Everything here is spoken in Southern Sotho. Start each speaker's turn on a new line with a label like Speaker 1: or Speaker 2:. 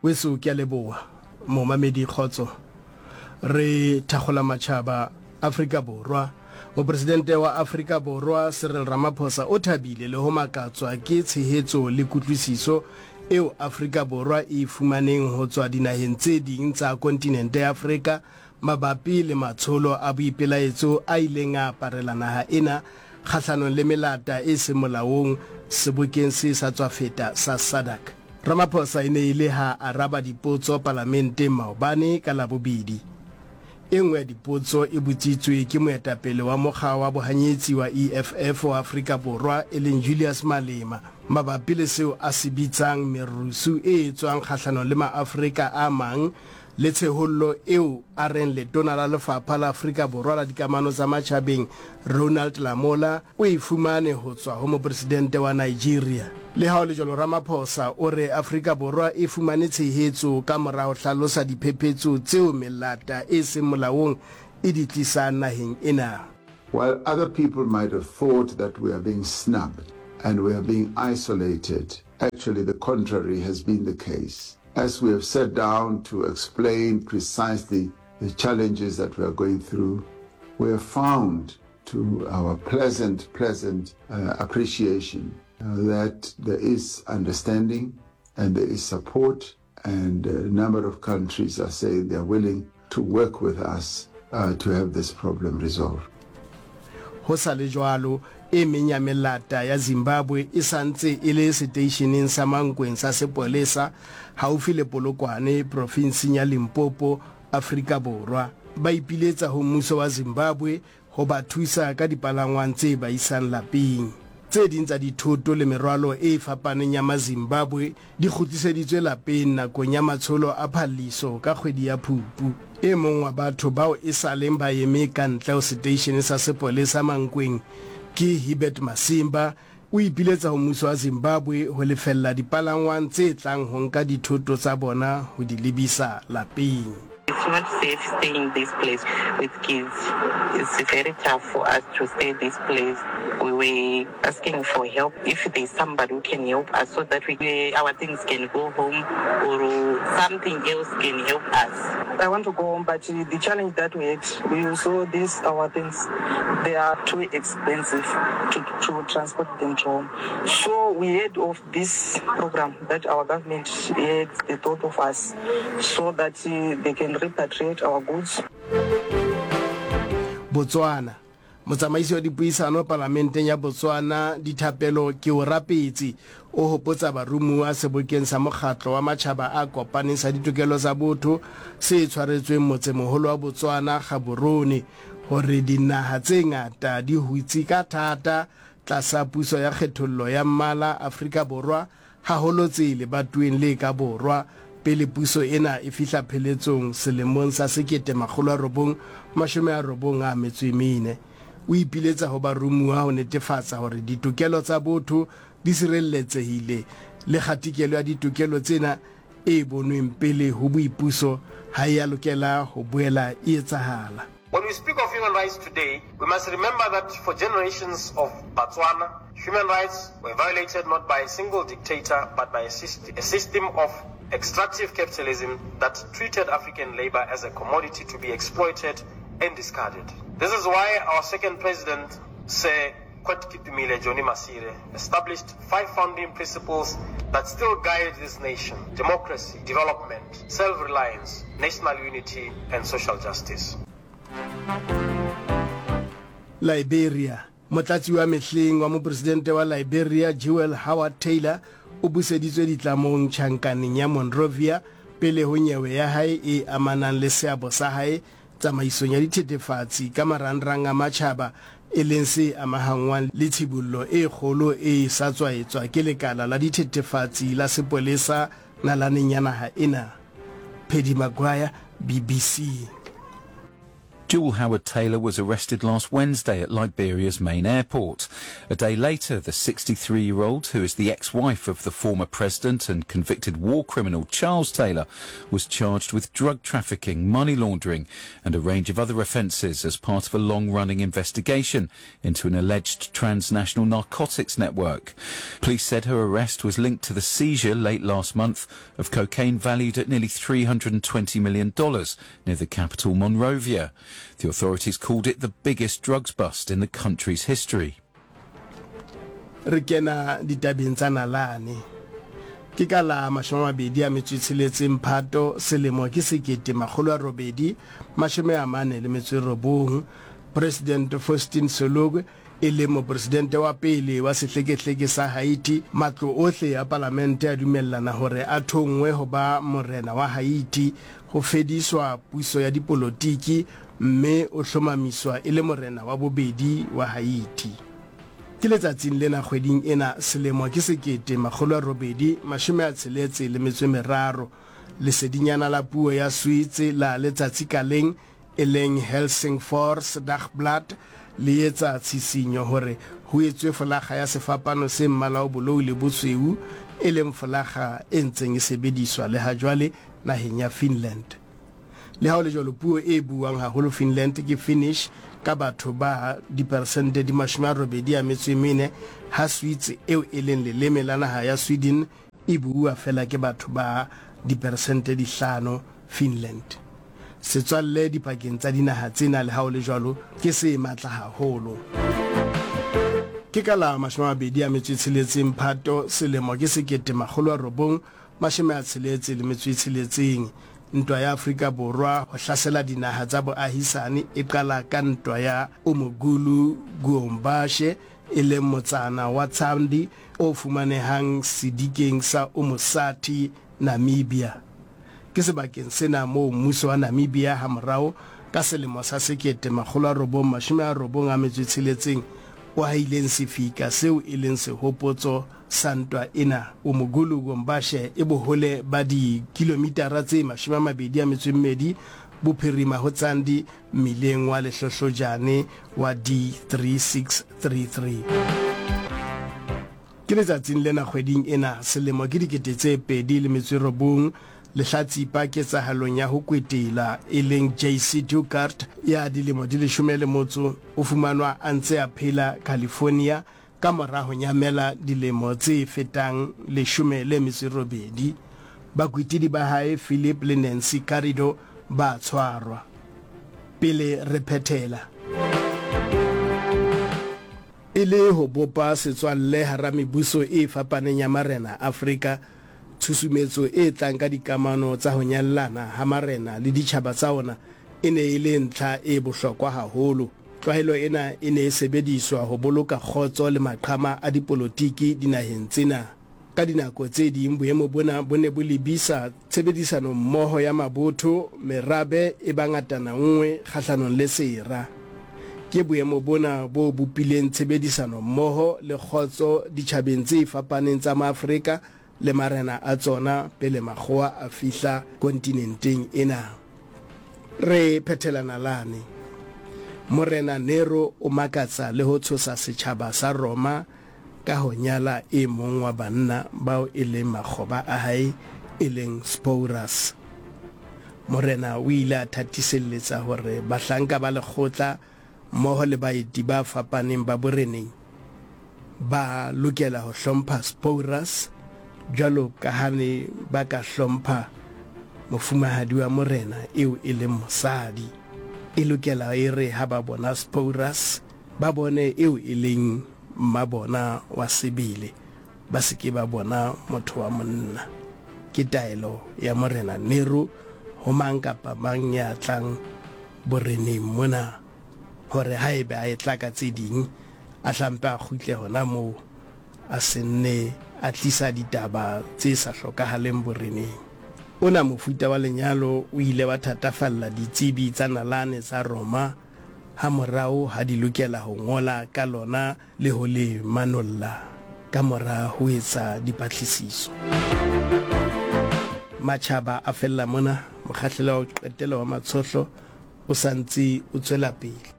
Speaker 1: Weso ke a leboha momamedi kgotso. Re thakgola matšhaba Afrika Borwa. Mopresidente wa Afrika Borwa Cyril Ramaphosa o thabile le ho makatswa ke tshehetso le kutlwisiso eo Afrika Borwa e e fumaneng ho tswa dinaheng tse ding tsa kontinente ya Afrika mabapi le matsholo a boipelaetso a ileng a aparela naha ena kgahlanong le melata e seng molaong sebokeng se sa tswa feta sa SADC. Ramaphosa e ne e le ha araba dipotso palamenteng maobane ka Labobedi. E nngwe ya dipotso e botsitswe ke moetapele wa mokga wa bohanyetsi wa EFF wa Afrika Borwa e leng Julius Malema mabapi le seo a se bitsang merusu e etswang kgahlanong le maAfrika a mang le tshehollo eo a reng letona la Lefapha la Afrika Borwa la Dikamano tsa Matjhabeng Ronald Lamola o e fumane ho tswa ho mopresidente wa Nigeria. Le ha ho le jwalo Ramaphosa o re Afrika Borwa e fumane tshehetso ka mora ho hlalosa diphephetso tseo melata e seng molaong e di tlisang naheng ena.
Speaker 2: While other people might have thought that we are being snubbed and we are being isolated, actually the contrary has been the case. As we have sat down to explain precisely the challenges that we are going through, we have found to our pleasant, pleasant uh, appreciation uh, that there is understanding and there is support, and a number of countries are saying they are willing to work with us uh, to have this problem resolved.
Speaker 1: Ho sa le jwalo, e meng ya melata ya Zimbabwe e sa ntse e le seteisheneng sa Mankweng sa sepolesa haufi le Polokwane, profinseng ya Limpopo, Afrika Borwa. Ba ipiletsa ho mmuso wa Zimbabwe ho ba thusa ka dipalangwang tse ba isang lapeng. Tse ding tsa dithoto le merwalo e fapaneng ya Mazimbabwe di kgutliseditswe lapeng nakong ya matsholo a phalliso ka kgwedi ya Phupu. E mong wa batho bao e sa leng ba eme ka ntle ho seteishene sa sepolesa Mankweng ke Hebert Masimba, o ipiletsa ho mmuso wa Zimbabwe ho lefella dipalangwang tse tlang ho nka dithoto tsa bona ho di lebisa lapeng.
Speaker 3: It's not safe staying this place with kids. It's very tough for us to stay this place. We were asking for help if there's somebody who can help us so that we, our things can go home or something else can help us.
Speaker 4: I want to go home, but the challenge that we had, we saw these our things, they are too expensive to, to transport them to home. So we heard of this program that our government had the thought of us so that they can repatriate our goods.
Speaker 1: Botswana. Motsamaisi wa dipuisano palamenteng ya Botswana, Dithapelo Keorapetse, o hopotsa baromuwa sebokeng sa mokgatlo wa matjhaba a kopaneng sa ditokelo tsa botho se tshwaretsweng motsemoholo wa Botswana, Gaborone, hore dinaha tse ngata di hutse ka thata tlasa puso ya kgethollo ya mmala Afrika Borwa haholo tse lebatoweng le ka borwa, pele puso ena e fihla pheletsong selemong sa 1994. O ipiletsa ho baromuwa ho netefatsa hore ditokelo tsa botho di sirelletsehile le kgatikelo ya ditokelo tsena e bonweng pele ho boipuso ha e a lokela ho boela e etsahala.
Speaker 5: When we speak of human rights today, we must remember that for generations of Batswana, human rights were violated not by a single dictator, but by a, syst a system of extractive capitalism that treated African labor as a commodity to be exploited and discarded. This is why our second president, Sir Kwetkipimile Johnny Masire, established five founding principles that still guide this nation: democracy, development, self-reliance, national unity, and social justice.
Speaker 1: Liberia, Motlatsi wa mehleng wa mopresidente wa Liberia Jewel Howard Taylor o buseditswe ditlamong tjhankaneng ya Monrovia pele ho nyewe ya hae e amanang le seabo sa hae tsamaisong ya dithethefatsi ka marangrang a matjhaba e leng se amahanngwang le tshibollo e kgolo e sa tswa etswa ke lekala la dithethefatsi la sepolesa nalaneng ya naha ena. Paddy Maguire, BBC.
Speaker 6: Jewel Howard Taylor was arrested last Wednesday at Liberia's main airport. A day later, the 63-year-old, who is the ex-wife of the former president and convicted war criminal Charles Taylor, was charged with drug trafficking, money laundering and a range of other offences as part of a long-running investigation into an alleged transnational narcotics network. Police said her arrest was linked to the seizure late last month of cocaine valued at nearly $320 million near the capital Monrovia. The authorities called it the biggest drugs bust in the country's history.
Speaker 1: Re kena ditabeng tsa nalane. Ke ka la 26 Mphato selemo ke 1849, President Faustin Sologwe e leng mopresidente wa pele wa sehlekehleke sa Haiti, matlo ohle a palamente a dumellana hore a thonngwe ho ba morena wa Haiti, ho fediswa puso ya dipolotiki mme o hlomamiswa e le morena wa bobedi wa Haiti. Ke letsatsing lena kgweding ena selemo ke 1863, lesedinyana la puo ya Sweetse la letsatsi ka leng e leng Helsingfors Dagblad le etsa tshisinyo hore ho etswe folakga ya sefapano se mmala o bolou le bosweu, e leng folakga e ntseng e sebediswa le hajwale naheng ya Finland. Le ha ho le jwalo, puo e buuwang haholo Finland ke Finnish ka batho ba diperesente di 84, ha Swedes eo e leng leleme la naha ya Sweden e buuwa feela ke batho ba diperesente di hlano Finland. Setswalle dipakeng tsa dinaha tsena le ha ho le jwalo ke se matla haholo. Ke ka la 26 Phato selemo ke 1966, Ntwa ya Afrika Borwa ho hlasela dinaha tsa boahisane e qala ka ntwa ya Umugulu Guombashe e leng motsana wa Tsandi o fumanehang sedikeng sa Omusati, Namibia. Ke sebakeng sena moo mmuso wa Namibia hamorao ka selemo sa 1996 o hahileng sefika seo e leng sehopotso sa ntwa ena. Umugulu Gombashe e bohole ba dikilomitara tse 22 bophirima ho Tsandi mmileng wa lehlohlojane wa D3633. Ke letsatsing lena kgweding ena selemo ke 2009, lehlatsipa ketsahalong ya ho kwetela e leng JC Dugard ya dilemo di leshome le motso o fumanwa a ntse a phela California ka mora ho nyamela dilemo tse fetang 18. Bakwetidi ba hae Philip le Nancy Garrido ba tshwarwa. Pele re phethela. E le ho bopa setswalle hara mebuso e fapaneng ya marena Afrika, tshusumetso e tlang ka dikamano tsa ho nyallana ha marena le ditjhaba tsa ona e ne e le ntlha e bohlokwa haholo. Tlwaelo ena e ne e sebediswa ho boloka kgotso le maqhama a dipolotiki dinaheng tsena. Ka dinako tse ding boemo bona bo ne bo lebisa tshebedisanommoho ya mabotho, merabe e ba ngatana-nngwe kgahlanong le sera. Ke boemo bona bo bopileng tshebedisanommoho le kgotso ditjhabeng tse fapaneng tsa Maafrika le marena a tsona pele makgowa a fihla kontinenteng ena. Re phethela nalane. Morena Nero o makatsa le ho tshosa setjhaba sa Roma ka ho nyala e mong wa banna bao e leng makgoba a hae e leng Sporus. Morena o ile a thatiselletsa hore bahlanka ba lekgotla mmoho le baeti ba fapaneng ba boreneng ba lokela ho hlompha Sporus jwalo ka ha ne ba ka hlompha mofumahadi wa morena eo e leng mosadi. E lokela e re ha ba bona Sporus ba bone eo e leng mma bona wa sebele, ba se ke ba bona motho wa monna. Ke taelo ya Morena Nero ho mang kapa mang ya tlang boreneng mona, hore haebe a etla ka tse ding, a hlampe a kgutle hona moo, a se nne a tlisa ditaba tse sa hlokahaleng boreneng. Ona mofuta wa lenyalo o ile wa thatafalla ditsebi tsa nalane tsa Roma hamorao ha di lokela ho ngola ka lona le ho le manolla ka mora ho etsa dipatlisiso. Matjhaba a fella mona. Mokgahlelo wa ho qetela wa matshohlo o sa ntse o tswela pele.